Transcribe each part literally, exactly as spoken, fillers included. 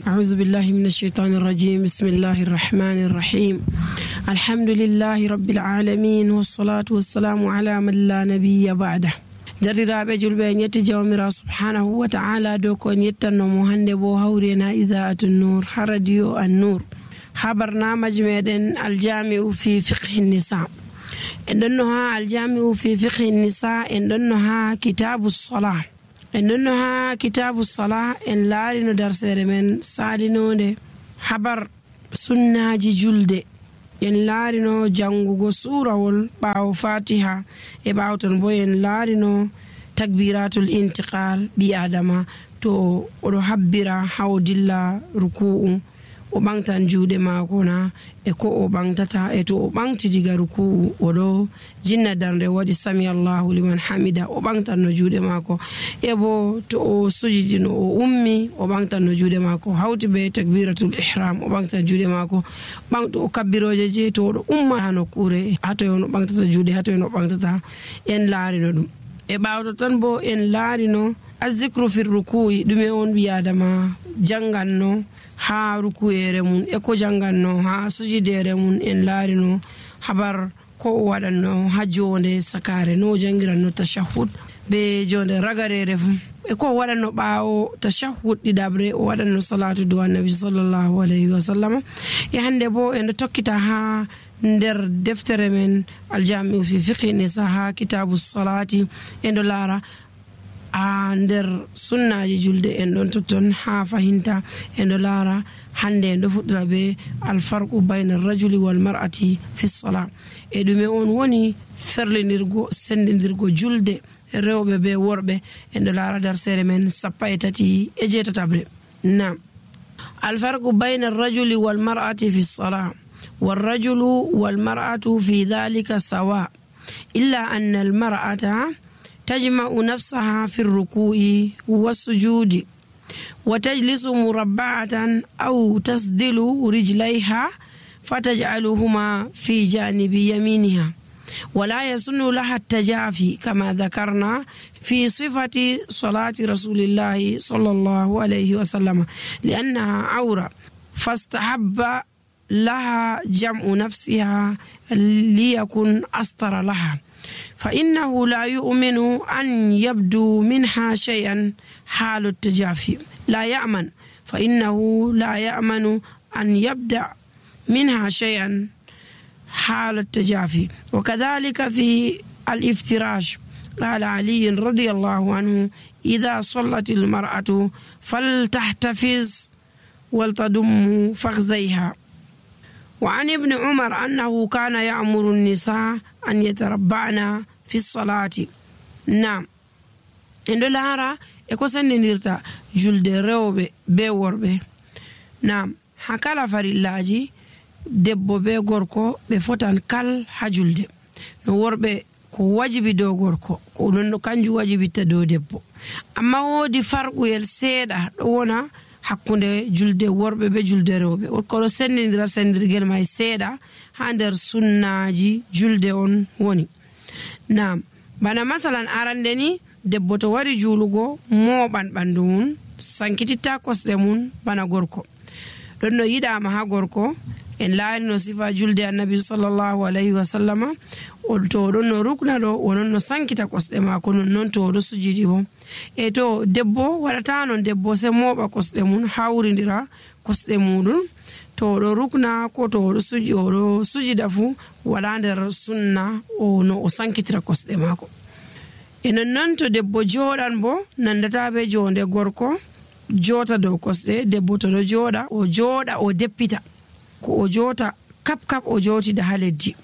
أعوذ بالله من الشيطان الرجيم. بسم الله الرحمن الرحيم. الحمد لله رب العالمين والصلاة والسلام على من لا نبي بعده. درiraɓe julɓe en yetti jawmira subhanahu wa ta'ala dow ko en yettannomo hande bo hawrena idaatu nur ha radio an nur ha barnamaji meɗen aljami'u fi fiqhi nisa. en ɗonno ha aljami'u fi fiqhi nisa en ɗonno ha kitabu salah en ɗonno ha kitabu salah en laarino darsere men salinode habar sunnaji julde. en laarino jangugo surawol ɓaawo fatiha e ɓaawo ton bo en laarino takbiratul intiqal ɓi adama to oɗo habbira hawo dilla ruku'u o ɓangtan juuɗe maako na e ko o ɓangtata e to o ɓangti diga ruku'u oɗo jinna darde waɗi sami allahu liman hamida o ɓangtan no juuɗe maako e bo to o sujidino o ummi o ɓangtan no juuɗe maako hawti be takbiratul ihram o ɓangtan juuɗe maako ɓangto o kabbiroje je to oɗo umma ha nokkure hatoy on o ɓangtata juuɗe hatoy on o ɓangtata en laarino ɗum e ɓawto tan bo en laarino azikru fir ruku'i ɗume on ɓi adama janganno ha rukuyere mum e ko janganno ha sujidere mum en laarino habar ko o waɗanno ha jonde sakare no jangiranno tashahhud be jonde ragarere fu e ko o waɗanno ɓaawo tashahhud ɗiɗabre o waɗanno salatu do annabi sallallahu alayhi wa sallam. e hande bo en tokkita ha nder deftere men aljami'u fi fiqhi nisa ha kitabu salati en do laara a nder sunnaji julde en ɗon totton ha fahinta en ɗo laara hande en ɗo fuɗɗira be alfarqu bayna rajuli wal mar'ati fi salah e ɗume on woni ferlinirgo sendidirgo julde rewɓe be worɓe en ɗo laara darsere men sappa e tati e jeetatabre. nam alfarqu bayna rajuli wal mar'ati fi salah والرجل والمرأة في ذلك سواء إلا أن المرأة تجمع نفسها في الركوع والسجود وتجلس مربعة أو تسدل رجليها فتجعلهما في جانب يمينها ولا يسن لها التجافي كما ذكرنا في صفة صلاة رسول الله صلى الله عليه وسلم لأنها عورة فاستحب لها جمع نفسها ليكن أستر لها فإنه لا يؤمن أن يبدو منها شيئا حال التجافي لا يأمن فإنه لا يأمن أن يبدأ منها شيئا حال التجافي. وكذلك في الافتراش قال علي رضي الله عنه إذا صلت المرأة فلتحتفظ ولتضم فخذيها. وعن ابن عمر أنه كان يأمر النساء أن يتربعن في الصلاة. نعم إن لارا إكوسن نيرتا جلد روبي بوربي. نعم حكالا فريلاجي debbo be gorko ɓe fotan kal ha julde no worɓe ko wajibi dow gorko ko nonno kanjum wajibitta dow debbo amma woodi farquyel seeɗa ɗo wona hakkunde julde worɓe be julde rewɓe koɗo sendidira sendirgel may seeɗa ha nder sunnaji julde on woni. nam bana masalan arande ni debbo to wari julugo mooɓan ɓandu mum sankititta kosɗe mum bana gorko ɗon no yiɗama ha gorko en laarino sifa julde annabi sallallahu alayhi wa sallama to ɗon no rukna ɗo wonon no sankita kosɗe maako non noon to ɗo sujidi bo e to debbo waɗata non debbo se mooɓa kosɗe mum hawridira kosɗe muɗum to ɗo rukna ko to ɗo suji oɗo sujida fu wala nder sunna o no o sankitira kosɗe maako. e non noon to debbo jooɗan bo nandata be jonde gorko joota dow kosɗe debbo to ɗo jooɗa o jooɗa o deppita ko o joota kap kap o jootida ha leddi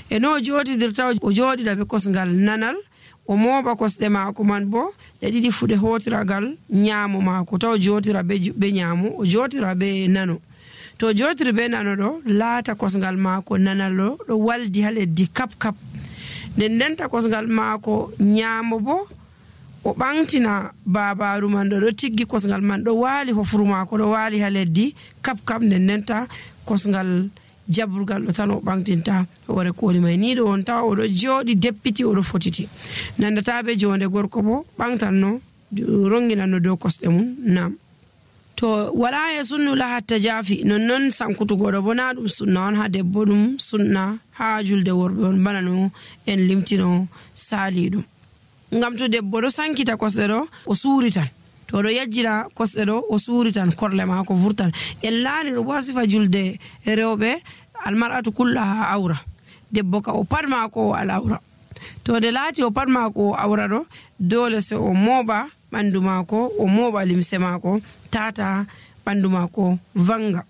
e no o jootidirta o jooɗiɗa be kosngal nanal o mooɓa kosɗe maako man bo ɗe ɗiɗi fuɗe hootiragal ñaamo maako taw jootira be ñaamo o jootira be nano to jootiri be nano ɗo laata kosngal maako nanal ɗo ɗo waldi ha leddi kap kap nden ndenta kosngal maako ñaamo bo o ɓangtina babaru man ɗo ɗo tiggi kosngal man ɗo waali hofru maako ɗo waali ha leddi kap kap nden ndenta kosngal jaburgal ɗo tan o ɓangtinta hoore kooli may ni ɗo on tawa oɗo jooɗi deppiti oɗo fotiti nandata be jonde gorko bo ɓangtanno ronginanno dow kosɗe mum. nam to wala e sunnu laha tajafi nonnon sankutugo ɗo bo na ɗum sunna on ha debbo, ɗum sunna ha julde worɓe on bana no en limtino sali ɗum. Ngam to debbo ɗo sankita kosɗe ɗo o suuritan, to ɗo yajjina kosɗe ɗo o suuritan, korle maako vurtan. En laani ɗo bo sifa julde rewɓe almar'atu kullaha awra, debbo ka o pat maako o al'awra. To de laati o pat maako o awra ɗo dole se o mooɓa ɓandu maako, o mooɓa limse maako tata ɓandu maako vanga.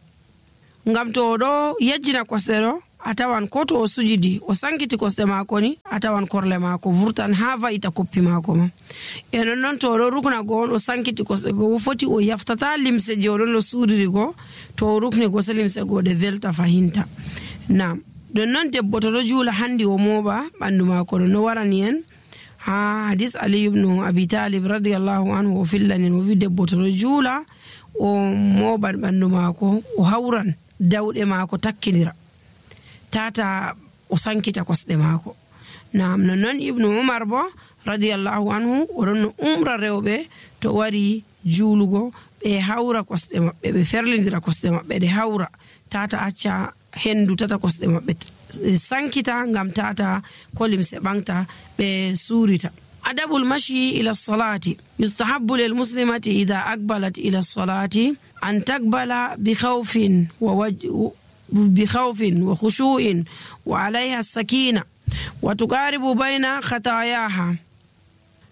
Ngam to o ɗo yajjina kosɗe ɗo a tawan ko to o sujidi o sankiti kosɗe maako ni a tawan korle maako vurtan ha va'ita koppi maako ma. E nonnon to o ɗo rukna go on o sankiti kosɗe go foti o yaftata limse je o ɗon o suuriri go, to o rukni go se limse go ɗe velta fahinta. Nam don non debbo to ɗo juula handi o mooɓa ɓandu maako ɗo no warani en ha hadis Ali ibn Abi Talib radiyallahu anhu o fillanin o wi debbo to ɗo juula o mooɓan ɓandu maako o hawran dawɗe maako takkinira tata o sankita kosɗe maako. Nam nonnon ibnu Umar bo radiyallahu anhu oɗon no umra rewɓe to wari juulugo ɓe hawra kosɗe maɓɓe, ɓe ferlindira kosɗe maɓɓe ɗe hawra tata acca hendu tata kosɗe maɓɓe sankita ngam tata ko limse ɓangta ɓe suurita. adabul mashi ila salati yustahabbu lil muslimati idha aqbalat ila salati an taqbala bi khawfin wa wajh بخوف وخشوع وعليها السكينة وتقارب بين خطاياها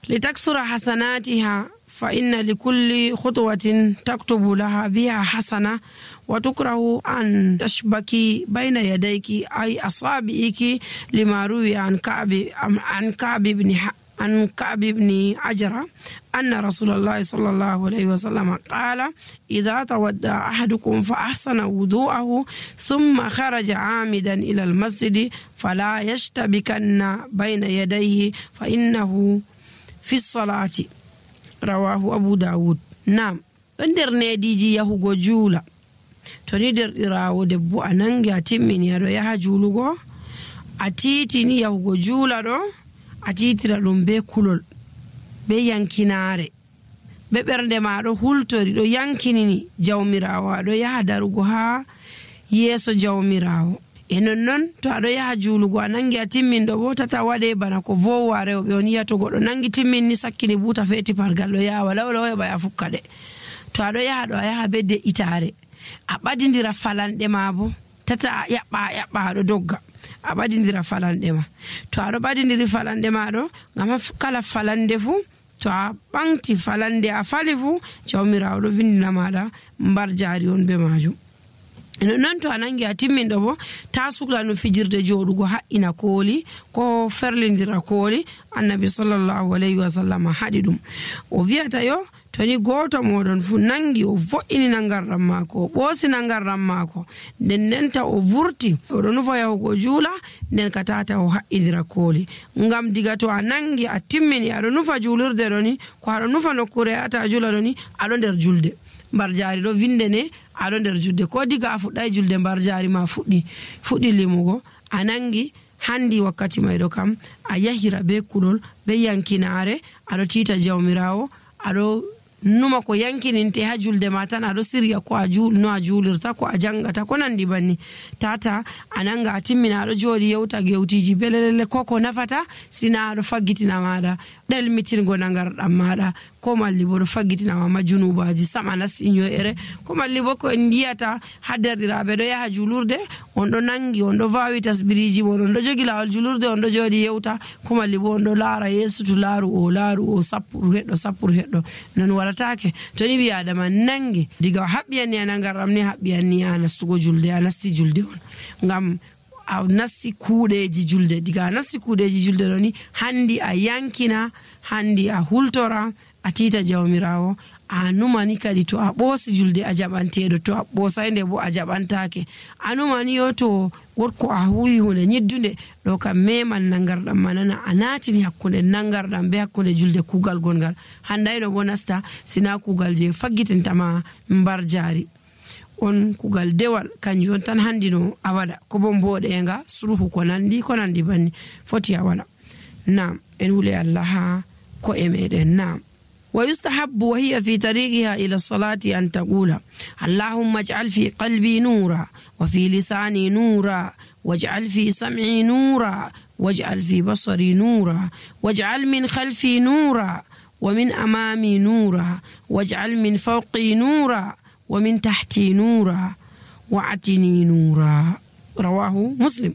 لتكسر حسناتها، فإن لكل خطوة تكتب لها بها حسنة، وتكره أن تشبكي بين يديك أي أصابعك لما روي عن كعب عن كعب بن عن كعب بن عجرة أن رسول الله صلى الله عليه وسلم قال إذا تودع أحدكم فأحسن وضوءه ثم خرج عامدا إلى المسجد فلا يشتبكن بين يديه فإنه في الصلاة. رواه أبو داود. نعم nder nediji yahugo juula to ni derɗirawo debbo a nangi a timmini aɗo yaha juulugo a titini yahugo juula ɗo a titira ɗum be kulol be yankinaare be ɓernde ma ɗo hultori ɗo yankinini jawmirawo aɗo yaha darugo ha yeeso jawmirawo. E nonnon to aɗo yaha juulugo a nangi a timmin ɗo bo tata waɗe bana ko vowa rewɓe on yiya to goɗɗo nangi timmin ni sakkini buuta feeti pargal ɗo yaha wala wala heɓa ya fukka ɗe. To aɗo yaha ɗo a yaha be de'itaare a ɓadindira falanɗe ma bo tata a yaɓɓa a yaɓɓa aɗo dogga a ɓadindira falanɗe ma. To aɗo ɓadindiri falanɗe ma ɗo ngam kala falande fu to a ɓanti falande a fali fu jawmirawo ɗo vindina maɗa mbar jaari on be majum. Non to a nangi a timmin ɗo bo ta sukla no fijirde joɗugo haɓɓina kooli ko ferlindira kooli. Annabi sallallahu alayhi wa sallam haɗi ɗum o wiyata yo to ni goto moɗon fu nangi o vo'inina ngarɗam maako o ɓoosina ngarɗam maako nden nenta o vurti oɗo nufa yahugo juula nden ka tata o haɓɓidira kooli. Ngam diga to a nangi a timmini aɗo nufa juulirde ɗo ni ko aɗo nufa nokkure ata juula ɗo ni aɗo nder julde mbar jaari ɗo vinde ne aɗo nder julde ko diga a fuɗɗai julde mbar jaari ma fuɗɗi fuɗɗi limugo a nangi handi wakkati mayɗo kam a yahira be kulol be yankinaare aɗo tiita jawmirawo aɗo numa ko yankininte ha julde ma tan aɗo sirya ko a juul no a juulirta ko a jangata ko nandi banni tata a nanga a timmina aɗo jooɗi yewta gewtiji belelele ko ko nafata sina aɗo faggitina maɗa ɗelmitingo nangarɗam maɗa ko malli bo ɗo faggitinama ma junubaji sama nasti ño'ere ko malli bo ko en yiyata ha derɗiraɓe ɗo yaha julurde on ɗo nangi on ɗo vawi tasbiriji mon on ɗo jogi lawol julurde on ɗo jooɗi yewta ko malli bo on ɗo laara yeeso to laaru o laaru o sappuru heɗɗo sappuru heɗɗo non waɗatake. to ni ɓi adama nangi diga haɓɓiyanni a nangarɗam ni haɓɓiyanni a nastugo julde a nasti julde on ngam a nasti kuuɗeji julde. diga a nasti kuuɗeji julde ɗo ni handi a yankina handi a hultora a tiita jawmirawo a numani kadi to a ɓoosi julde a jaɓanteɗo to a ɓoosayde bo a jaɓantake a numani yo to wotko a huwi hunde ñiddunde ɗo kam meman nangarɗam manana a natini hakkunde nangarɗam be hakkunde julde kuugal gongal handayno bo nasta sina kuugal je faggitintama mbar jaari on kuugal dewal kanjum on tan handi no a waɗa ko bo mboɗenga sulhu ko nandi ko nandi banni foti a waɗa. Nam en hule Allah ha ko e meɗen. Nam ويستحب وهي في طريقها إلى الصلاة أن تقول اللهم اجعل في قلبي نورا وفي لساني نورا واجعل في سمعي نورا واجعل في بصري نورا واجعل من خلفي نورا ومن أمامي نورا واجعل من فوقي نورا ومن تحتي نورا وأعطني نورا. رواه مسلم.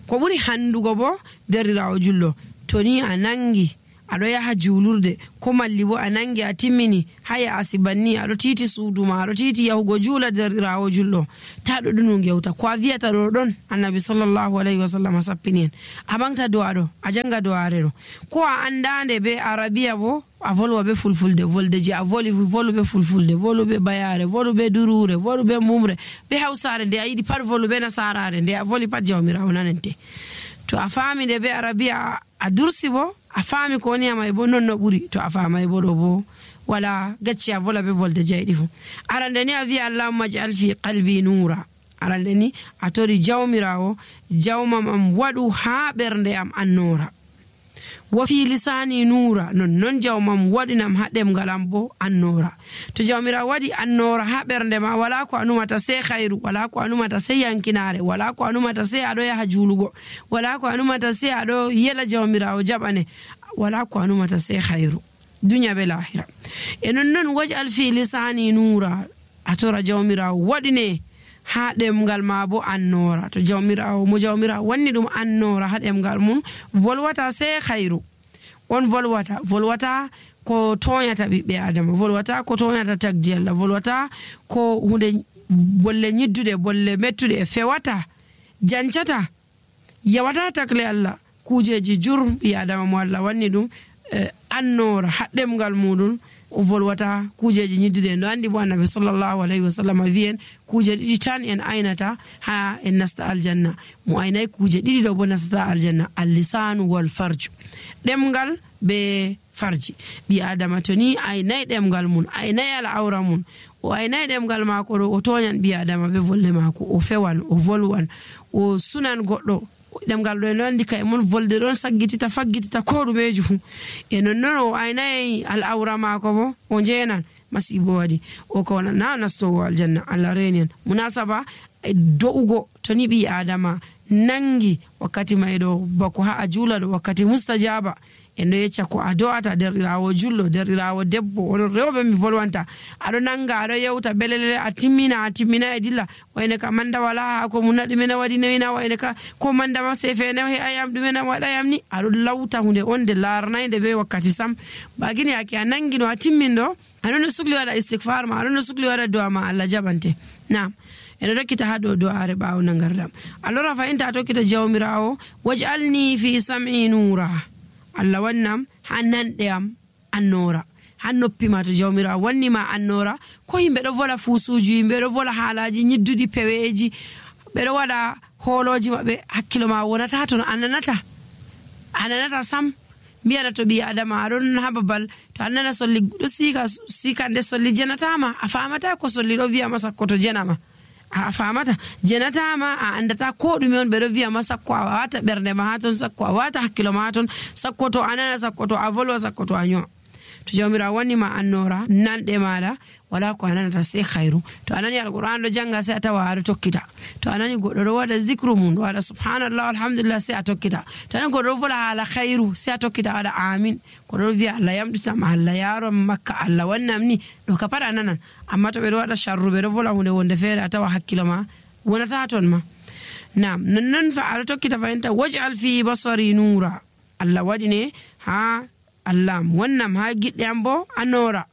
ko ɓuri handugo bo derɗirawo jullo to ni a nangi aɗo yaha julurde ko malli bo a nangi a timmini haya asibanni aɗo titi suudu ma aɗo titi yahugo juula derɗirawo jullo taɗo ɗum gewta ko a wiyata ɗo ɗon annabi sallallahu alayhi wa sallam sappini en a ɓamta do'a ɗo a janga do'are ɗo ko a andande be arabiya bo a volwa be fulfulde volde je a voli volu be fulfulde volu be bayare volu be durure volu be mumre be hawsare nde a yiɗi pat volu be nasarare nde a voli pat jawmirawo nanente to a faami nde be arabiya a dursi bo a faami ko woni amay bo non no ɓuri to a faamay bo ɗo bo wala gacci a vola be volde jeyɗi fu arande ni a wiya allahumma ja'al fi qalbi nura arande ni a tori jawmirawo jawmam am waɗu ha ɓernde am annora wa fi lisani nura non non jawmam waɗinam ha ɗemgal am bo annora to jawmirawo waɗi annora ha ɓernde ma wala ko anumata sey khayru wala ko anumata sey yankinare wala ko anumata sey aɗo yaha juulugo wala ko anumata sey aɗo yela jawmirawo jaɓane wala ko anumata sey khayru dunya be lahira e non non waj'al fi lisani nura a tora jawmirawo waɗine ha ɗemgal ma bo annora to jawmirawo mo jawmirawo wanni ɗum annora ha ɗemgal mum volwata sey khayru on volwata volwata ko toñata ɓiɓɓe adama volwata ko toñata tagdi Allah volwata ko hunde bolle ñidduɗe bolle mettuɗe e fewata jancata yawata takle Allah kujeji jur ɓi adama mo Allah wanni ɗum eh, annora ha ɗemgal muɗum o volwata kujeji ñiddude en ɗo andi bo annabi sallallahu alayhi wa sallam wiyen kuje ɗiɗi tan en aynata ha en nasta aljanna mo aynayi kuje ɗiɗi ɗo bo nastata aljanna allisanu wal farju ɗemgal be farji ɓi adama to ni aynayi ɗemgal mun aynayi al'awra mun o aynayi ɗemgal mako ɗo o toñan ɓi adama be volle mako o fewan o volwan o sunan goɗɗo ɗemgal ɗo en andi kay mon volde ɗon saggitita faggitita ko ɗumeji fu e non non o aynayi al'awra mako bo o jeenan masibo waɗi o ko wona na nastowo aljanna Allah reni en munasaba do'ugo to ni ɓi adama nangi wakkati mayɗo bako ha a juula ɗo wakkati mustajaba en ɗo yecca ko a do'ata derɗirawo jullo derɗirawo debbo oɗon rewɓe mi volwanta aɗo nanga aɗo yewta belelele a timmina a timmina e dilla wayne ka manda wala ha ko muna ɗumena waɗi newina wayne ka ko mandama sefene he ayam ɗumena waɗayam ni aɗo lawta hunde on de larnayde be wakkati sam bagini yake a nangino a timmin ɗo aɗon no sukli waɗa istighfar ma aɗon no sukli waɗa do'a ma Allah jaɓante nam ene rokkita ha dow do'are ɓawo nangardam alors fa inta a tokkita jawmirawo waj'alni fi sam'i nura Allah wannam ha nanɗe am annora ha noppi ma to jawmirawo wannima annora ko yimɓe ɗo vola fusuji yimɓe ɗo vola haalaji ñidduɗi peweji ɓeɗo waɗa hooloji maɓɓe hakkilo ma wonata toon ananata ananata sam mbiyaɗa to ɓi adama aɗon ha babal to annana solli ɗo sika sikande solli jenatama a famata ko solli ɗo wiyama sakko to jenama a famata jenatama a andata ko ɗume on ɓeɗo wiyama sakko a wata ɓernde ma ha ton sakko a wata hakkilo ma ha ton sakko to anana sakko to a volwa sakko to a ño'a to jawmirawo wannima annora nanɗe maɗa wala ko ananata sey khayru to anani alquran ɗo janga sey a tawa aɗo tokkita to anani goɗɗo ɗo waɗa zicre mum ɗo waɗa subhanallah alhamdulillah sey a tokkita to anani goɗɗo ɗo vola haala khayru sey a tokkita waɗa amin goɗɗo ɗo wiya Allah yamɗitam Allah yarom makka Allah wannam ni ɗo ka pat a nanan amma to ɓeɗo waɗa sharru ɓeɗo vola hunde wonde feere a tawa hakkilo ma wonata ton ma nam nonnon fa aɗo tokkita fayinta waj'al fi basari nura Allah waɗine ha Allah wannam ha giɗɗe am bo annora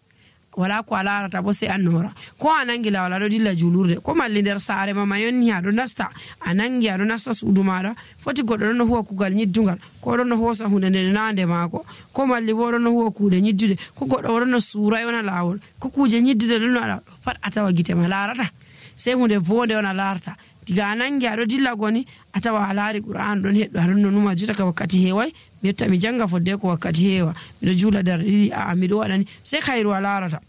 wala ko a larata bo sey annora ko a nangi lawol aɗo dilla julurde ko malli nder saare ma ma yonni aɗo nasta a nangi aɗo nasta suudu maɗa foti goɗɗo ɗon no huwa kugal ñiddugal ko ɗon no hosa hunde nde nande maako ko malli bo ɗon no huwa kuuɗe ñiddude ko goɗɗo ɗon no suura yona lawol ko kuje ñiddude ɗon no aɗa ɗo pat a tawa gite ma larata sey hunde vonde on a larata diga a nangi aɗo dilla goni a tawa a laari qur'an ɗon heɗɗo aɗon no numa juta ka wakkati heeway mi yetta mi janga fodde ko wakkati heewa miɗo juula dar ɗiɗi a miɗo waɗani sey khayru a larata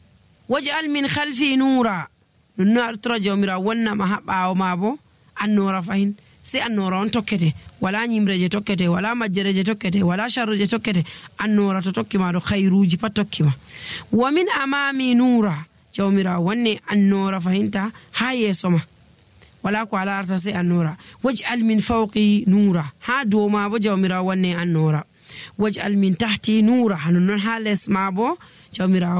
waj'al min khalfi nura ɗum no aɗo tora jawmirawo wonnama ha ɓawo ma bo annora fahin sey annora on tokkete wala nyimre je tokkete wala majjere je tokkete wala sharru je tokkete annora to tokki ma do khairuji pat tokki ma. Wa min amami nura jawmira wanne annora fahinta ha yeso ma wala ko ala arta sai annora. Waj'al min fawqi nura ha do ma bo jawmira wanne annora. Waj'al min tahti nura hanon ha les ma bo jawmira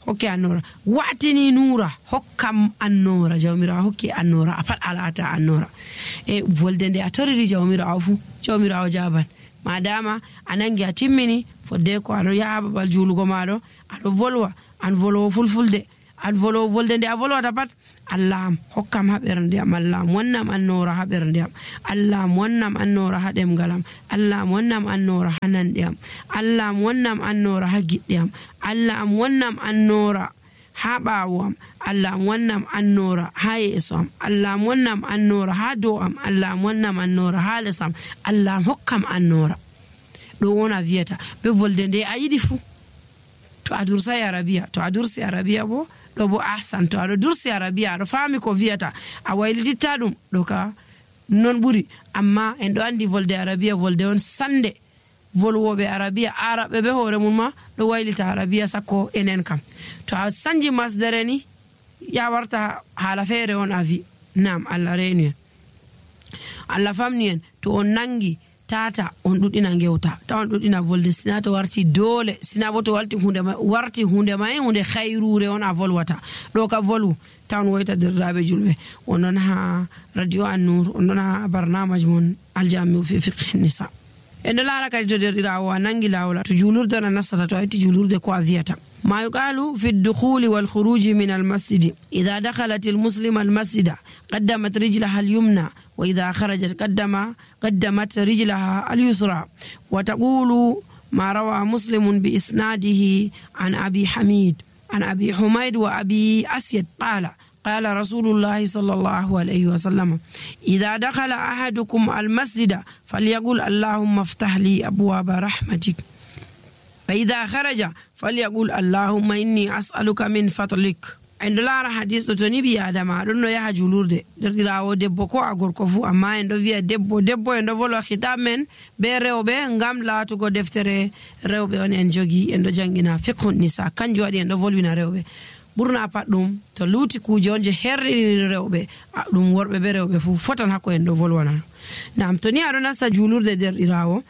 hokki annora. Wa'tini nura hokkam annora jawmira hokki annora afat alata annora. E volde nde a toriri jawmira fu jawmira jaban madama anangi a timmini fodde ko ado yaha babal julugo maɗo aɗo volwa an volwo fulfulde an volwo volde nde a volwata pat Allah am hokkam ha ɓernde am, Allah am wonnam annora ha ɓernde am, Allah am wonnam annora ha ɗemgal am, Allah am wonnam annora ha nanɗe am, Allah am wonnam annora ha giɗɗe am, Allah am wonnam annora ha ɓaawo am, Allah am wonnam annora ha yeeso am, Allah am wonnam annora ha dow am, Allah am wonnam annora ha les am, Allah am hokkam annora. Ɗo wona wiyata be volde nde a yiɗi fu. To a dursai arabiya to a dursi arabiya bo ɗo bo ahsan to aɗo dursi arabiya aɗo faami ko wiyata a waylititta ɗum ɗo ka non ɓuri. Amma en ɗo andi volde arabiya volde on sande volwoɓe arabiya araɓe be hoore mum ma ɗo waylita arabiya sakko enen kam. To a sanji masdere ni ya warta haala feere on a wi nam Allah reenu en Allah famni en. To on nangi tata on ɗuɗɗina gewta ta on ɗuɗɗina volde sina to warti dole sina bo to walti hunde ma warti hunde ma hunde khayrure on a volwata ɗo ka volu tan woyta derdaɓe julɓe onon ha radio An-Nur onon ha barnamaj mon aljamiu fi fiqh nisa. En lara kadi to derɗirawo a nangi lawol to julurde on a nastata to a itti julurde ko a wiyata ما يقال في الدخول والخروج من المسجد إذا دخلت المسلمة المسجد قدمت رجلها اليمنى وإذا خرجت قدم قدمت رجلها اليسرى. وتقول ما روى مسلم بإسناده عن أبي حميد عن أبي حميد وأبي أسيد قال قال رسول الله صلى الله عليه وسلم إذا دخل أحدكم المسجد فليقل اللهم افتح لي أبواب رحمتك فإذا خرج فليقول اللهم إني أسألك من فضلك. عند لا حديث تنبي آدم أدنو يا جلود دريراو دبو كو أغور كفو أما عند فيا دبو دبو عند فلو خطاب من بيرو بي نعم لا تقول دفتر ريو بي أن ينجوجي عند جانجنا فقه النساء كان جوادي عند فلو بينا ريو بي burna pat dum to luti kuje onje herri rewbe dum worbe be rewbe fu fotan hakko en do volwana nam to ni ado nasta julurde derɗirawo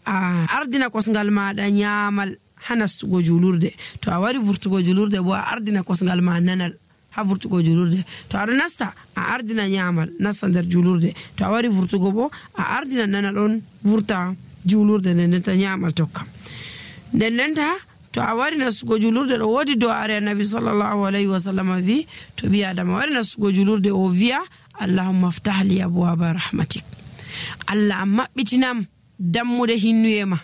a ardina kosngal maada nyaamal hanastugo julurde to a wari vurtugo julurde bo a ardina kosngal ma nanal ha vurtugo julurde to ado nasta a ardina nyaamal nasta der julurde to a wari vurtugo bo a ardina nanal on vurta julurde nden ta nyaamal tokkam nden ta to a wari nasugo julurde do wodi do are annabi sallallahu alaihi wasallam vi to bi adama wari nasugo julurde o viya allahumma aftah li abwaaba rahmatik allah mabbitinam dammude hinnuyema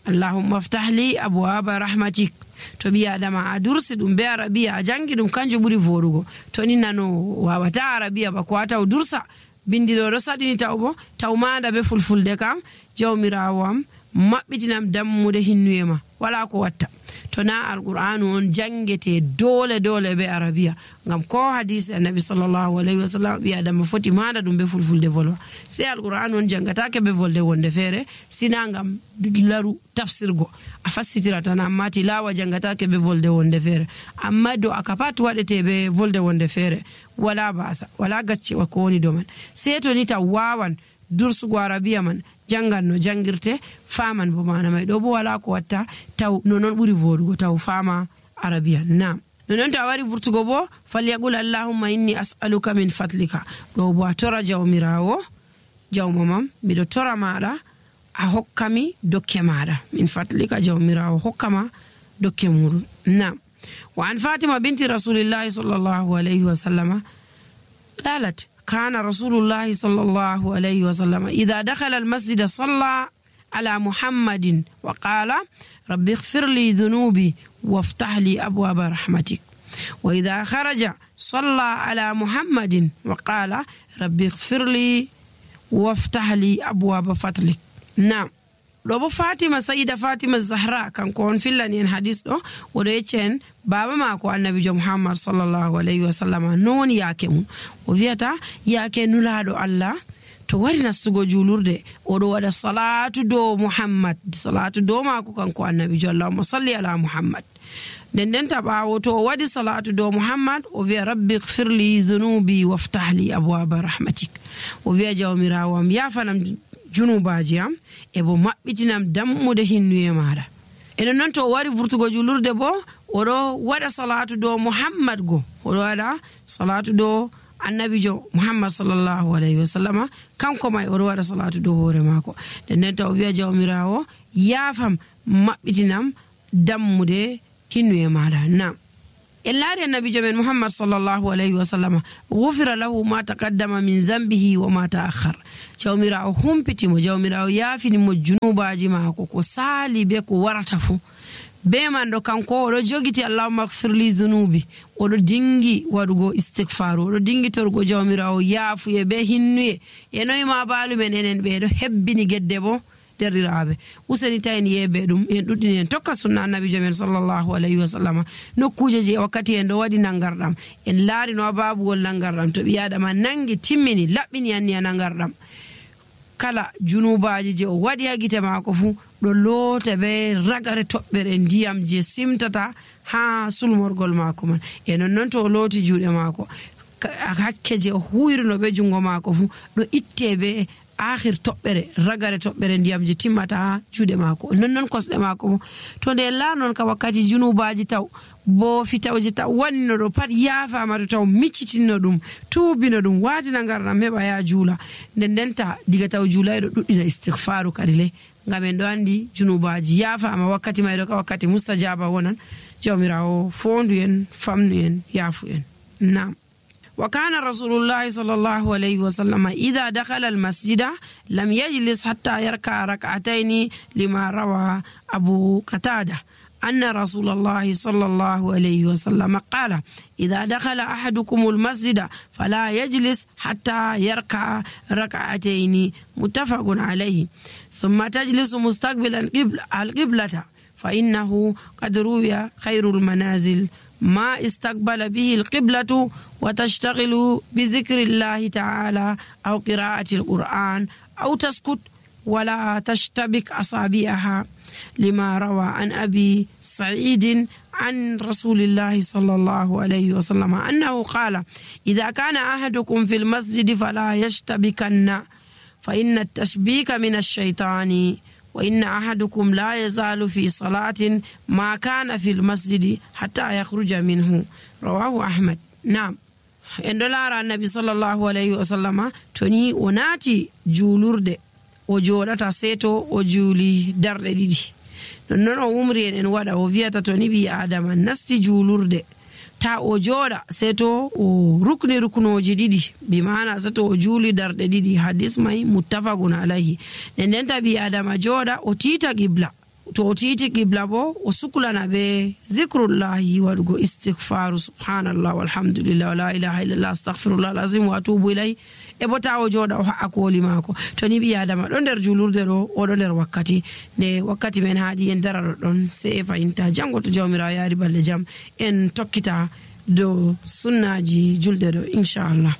allahumma aftah li abwaaba rahmatik to bi adama a dursi dum be arabiya a jangi dum kanjo buri vorugo to ni nano wawata arabiya ba ko ata dursa bindiro do sadini tawbo tawmanda be fulfulde kam jawmirawam mabbitinam dammude hinnuyema wala ko watta to na alqur'anu on jangete dole dole be arabiya ngam ko hadisi annabi sallallahu alaihi wasallam bi adam foti manda dum be fulfulde volwa se alqur'anu on jangata ke be volde wonde fere sina ngam laru tafsirgo a fassitira tan amma tilawa jangata ke be volde wonde fere amma do akapat wadete be volde wonde fere wala basa wala gacce wa ko woni do man se to ni ta wawan dursugo arabiya man jangan no jangirte faman bo mana may do bo wala ko watta taw nonon buri vodugo taw fama arabiya nam nonon ta wari vurtugo bo falyaqul allahumma inni as'aluka min fadlika do bo tora jawmirawo jawmamam mi do tora mada a hokkami dokke mada min fadlika jawmirawo hokkama dokke mudum nam wa an fatima binti rasulillahi sallallahu alaihi wasallam qalat كان رسول الله صلى الله عليه وسلم إذا دخل المسجد صلى على محمد وقال رب اغفر لي ذنوبي وافتح لي أبواب رحمتك وإذا خرج صلى على محمد وقال رب اغفر لي وافتح لي أبواب فضلك. نعم Robo Fatima Sayyida Fatima Zahra kan ko on fillani en hadis do o do yechen baba mako annabi Muhammad sallallahu alaihi wasallam non yake mun o viata yake nulado Allah to to wari nastugo julurde oɗo waɗa salatu dow muhammad, salatu dow maako kanko annabijo. Allahumma salli ala muhammad. nden nden ta ɓaawo to o waɗi salatu dow muhammad o wiya rabbi gfirli zunubi waftahli abwaba rahmatik. o wiya jawmirawo am yafanam junubaji am e bo maɓɓitinam dammude hinnuye maɗa. enen noon to o wari vurtugo julurde bo oɗo waɗa salatu dow muhammad go, oɗo waɗa salatu dow annabijo muhammad sallallahu alayhi wa sallama, kanko may oɗo waɗa salatu dow hoore maako. nden nden ta o wiya jawmirawo yaafam maɓɓitinam dammude hinnuye maɗa. nam en laari annabijo men muhammad sallallahu alayhi wa sallama gufira lahu ma taqaddama min dhanbihi wa ma ta'akhkhar. jawmirawo humpitimo, jawmirawo yaafinimo junubaji maako ko saali be ko warata fu. be man ɗo kanko oɗo jogiti allahumma gfirli zunubi, oɗo dingi waɗugo istigfaru, oɗo dingi torgo jawmirawo yaafuye be hinnuye. e noyi ma baalu men enen ɓeɗo hebbini gedde bo derɗiraɓe. useni tawen yeɓe ɗum en ɗuɗɗini en tokka sunna annabijo men sallallahu alayhi wa sallama. nokkuje je wakkati en ɗo waɗi nangarɗam, en laari no babugol nangarɗam, to ɓi adama nangi timmini laɓɓini anni a nangarɗam, kala junubaji je o waɗi ha gite maako fu ɗo loota be ragare toɓɓere ndiyam je simtata ha sulmorgol maako man. e non noon to o looti juuɗe maako, hakke je o huyrino be jungo maako fu ɗo itte be akhir toɓɓere ragare toɓɓere ndiyam je timmata ha juuɗe maako. non noon kosɗe maako mo to nde la noon ka wakkati junubaji taw bo fitawje taw wannino ɗo pat yaafama to taw miccitino ɗum tuubino ɗum watina ngarɗam heɓa ya juula. nden ndenta diga taw juulayɗo ɗuɗɗina istigfaru kadi le, ngam en ɗo andi junubaji yaafama wakkati mayɗo ka wakkati mustajaba wonan. jawmirawo fondu en, famnu en, yaafu en. nam وكان رسول الله صلى الله عليه وسلم إذا دخل المسجد لم يجلس حتى يركع ركعتين لما روى أبو قتادة أن رسول الله صلى الله عليه وسلم قال إذا دخل أحدكم المسجد فلا يجلس حتى يركع ركعتين متفق عليه ثم تجلس مستقبل القبلة فإنه قد روي خير المنازل ما استقبل به القبلة وتشتغل بذكر الله تعالى أو قراءة القرآن أو تسكت ولا تشتبك أصابعها لما روى عن أبي سعيد عن رسول الله صلى الله عليه وسلم أنه قال إذا كان أحدكم في المسجد فلا يشتبكن فإن التشبيك من الشيطان وإن أحدكم لا يزال في صلاة ما كان في المسجد حتى يخرج منه رواه أحمد. نعم en ɗo laara annabi sallallahu alayhi wa sallama to ni o naati juulurde o jooɗata seeto o juuli darɗe ɗiɗi. nonnoon o umri en en waɗa o wiyata to ni ɓi adama nasti juulurde ta o jooɗa seeto o rukni ruknoji ɗiɗi, bi mana seto o juuli darɗe ɗiɗi. hadis may muttafagun alayhi. nden nden ta ɓi adama jooɗa o tiita qibla, to o tiiti qibla bo o suklana be zicrullahi waɗugo istigfaru subhanallah walhamdulillah wa la ilaha illallah astahfirullah alazim wa atubu ilayhi. e bo ta o jooɗa o ha'a kooli maako. to ni ɓi adama ɗo nder julurde ɗo oɗo nder wakkati nde wakkati men haaɗi en dara ɗon se e fayinta janngo to jawmirawo yaari balle jam en tokkita dow sunnaji julde ɗo inchallah.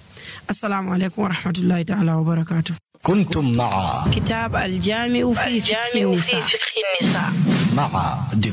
assalamu aleykum wa rahmatullahi taala wa barakatuh. كنتم مع كتاب الجامع في فقه النساء مع